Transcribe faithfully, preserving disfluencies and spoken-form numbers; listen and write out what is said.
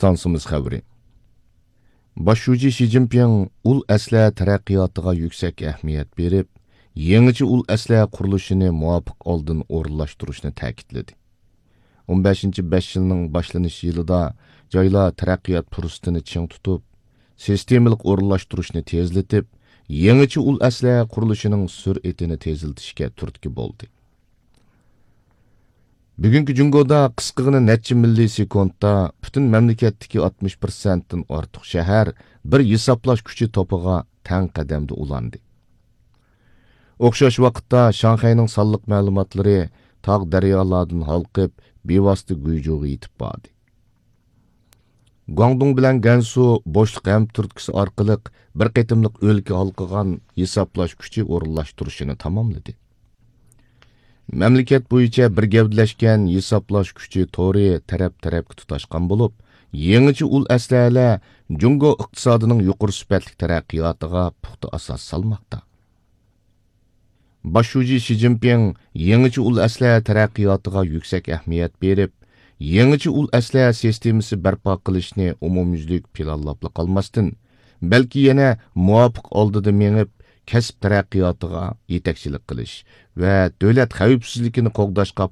ئىستانسىمىز خەۋىرى. باش شۇجى شى جىنپىڭ ئۇل ئەسلىھە تەرەققىياتىغا يۈكسەك ئەھمىيەت بېرىپ، يېڭىچە ئۇل ئەسلىھە قۇرۇلۇشىنى مۇۋاپىق ئالدىن ئورۇنلاشتۇرۇشنى تەكىتلىدى. ئون بەشىنچى بەش يىلنىڭ باشلىنىش يىلىدا جايلار تەرەققىيات پۇرسىتىنى چىڭ تۇتۇپ، سىستېمىلىق ئورۇنلاشتۇرۇشنى تېزلىتىپ، يېڭىچە ئۇل ئەسلىھە قۇرۇلۇشىنىڭ سۈرئىتىنى تېزلىتىشكە تۈرتكە بولدى. بۈگۈنكى جۇڭگودا قىسقىغىنە نەچچە مىللىسېكۇنتتا پۈتۈن مەملىكەتتىكى ئاتمىش پىرسەنتتىن ئارتۇق شەھەر بىر ھېسابلاش كۈچى توپىغا تەڭ قەدەمدە ئۇلاندى. ئوخشاش ۋاقىتتا شاڭخەينىڭ سانلىق مەلۇماتلىرى تاغ دەريالاردىن ھالقىپ، بىۋاسىتە گۇيجۇغا يېتىپ باردى. گۇاڭدۇڭ بىلەن گەنسۇ بوشلۇق ھەمتۈرتكىسى ئارقىلىق بىر قېتىملىق ئۆلكە ھالقىغان ھېسابلاش كۈچى ئورۇنلاشتۇرۇشىنى تاماملىدى. مەملىكەت بويىچە بىر گەۋدىلەشكەن ھېسابلاش كۈچى تورى تەرەپ-تەرەپكە تۇتاشقان بولۇپ، يېڭىچە ئۇل ئەسلىھەلەر جۇڭگو ئىقتىسادىنىڭ يۇقىرى سۈپەتلىك تەرەققىياتىغا پۇختا ئاساس سالماقتا. باش شۇجى شى جىنپىڭ يېڭىچە ئۇل ئەسلىھە تەرەققىياتىغا يۈكسەك ئەھمىيەت بېرىپ، يېڭىچە ئۇل ئەسلىھە سىستېمىسى بەرپا قىلىشنى ئومۇميۈزلۈك پىلانلاپلا قالماستىن، بەلكى يەنە مۇۋاپىق ئالدىدا مېڭىپ، كەسىپ تەرەققىياتىغا يېتەكچىلىك قىلىش ۋە دۆلەت خەۋپسىزلىكىنى قوغداشقا